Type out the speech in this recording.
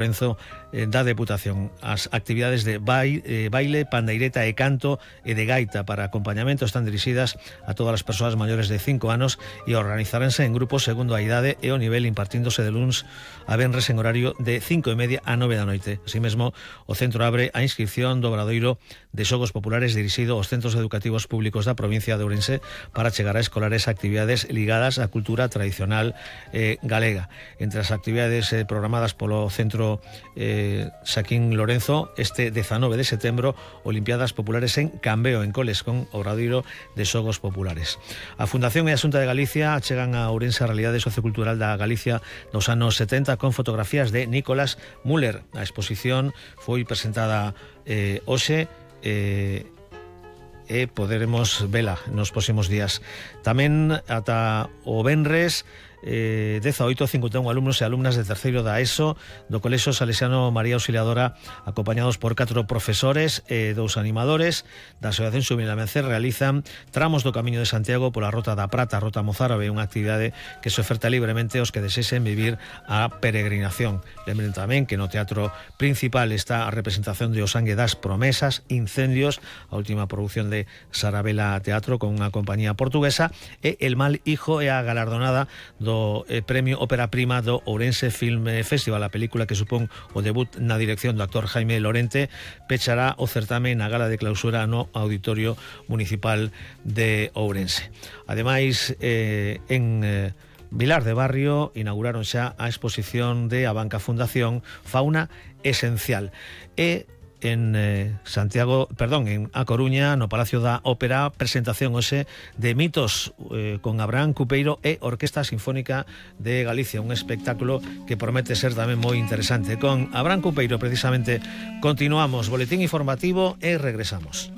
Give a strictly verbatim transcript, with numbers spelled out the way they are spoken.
Lorenzo eh, da Deputación. As actividades de baile, eh, baile, pandeireta e canto e de gaita para acompañamento están dirixidas a todas as persoas maiores de cinco anos e organizaranse en grupos segundo a idade e o nivel, impartíndose de luns a venres en horario de cinco e media a nove da noite. Así mesmo, o centro abre a inscripción do Obradoiro de Xogos Populares dirixido aos centros educativos públicos da provincia de Ourense para chegar a escolares actividades ligadas á cultura tradicional eh, galega. Entre as actividades eh, programadas polo centro eh, Xaquín Lorenzo, este dezanove de setembro, Olimpiadas Populares en Cambeo, en Coles, con Obradoiro de Xogos Populares. A Fundación e a Xunta de Galicia chegan a Ourense a realidade sociocultural da Galicia dos anos setenta con fotografías de Nicolás Müller. A exposición foi presentada eh, hoxe e eh, poderemos vela nos próximos días. Tamén ata o venres Eh, dezaoito cincuenta e un alumnos e alumnas de terceiro da ESO do Colexio Salesiano María Auxiliadora, acompañados por catro profesores e dous animadores da Asociación Xuvenil Amencer, realizan tramos do Camiño de Santiago pola Rota da Prata, a Rota Mozárabe, unha actividade que se oferta libremente aos que desexen vivir a peregrinación. Lembren tamén que no Teatro Principal está a representación de O Sangue das Promesas, Incendios, a última produción de Sarabela Teatro con unha compañía portuguesa, e El Mal Hijo é a galardonada do do eh, Premio Ópera Prima do Ourense Film Festival. A película que supón o debut na dirección do actor Jaime Lorente pechará o certame na gala de clausura no Auditorio Municipal de Ourense. Ademais, eh, en eh, Vilar de Barrio inauguraron xa a exposición de a Banca Fundación Fauna Esencial. E en eh, Santiago, perdón, en A Coruña, no Palacio da Ópera, presentación hoxe de Mitos eh, con Abraham Cupeiro e Orquesta Sinfónica de Galicia, un espectáculo que promete ser tamén moi interesante. Con Abraham Cupeiro, precisamente, continuamos boletín informativo e regresamos.